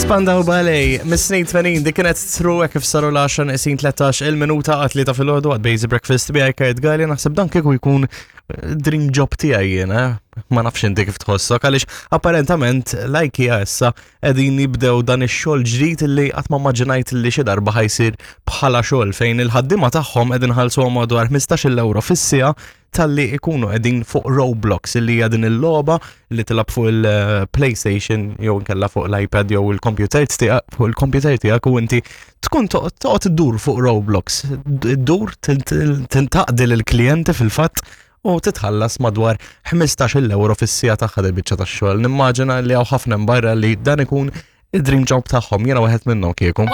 Spandau Ballet, mis-snin 80, dik kienet true hekk kif saru l-10 neqsin 13 il-minuta għat li ta' filgħodu għad Basic Breakfast bi Kurt Galli naħseb dan kieku jkun eh, dream job tiegħi jiena, eh? ma nafx inti kif tħossok għaliex apparentament l-IKEA issa qegħdin jibdew dan ix-xogħol ġdid li qatt ma maġinajt li xi darba ħajsir bħala xogħol fejn il-ħaddiema tagħhom qegħdin ħalsuhom madwar 15-il euro fis-siegħa talli ikunu qegħdin fuq Roblox illi hija din il-logħba li tilab fuq il-PlayStation jew inkella fuq l-iPad jew il-computer tiegħek fuq il-computer tiegħek u inti tkun toqgħod iddur fuq Roblox. Iddur tintaqdi lill-klijenti fil-fatt u titħallas madwar 15 euro fis-sija tagħha del biċċa tax-xogħol. Nimmaġina li hawn ħafna barra li dan ikun id-dream job tagħhom, jiena wieħed minnhom kieku.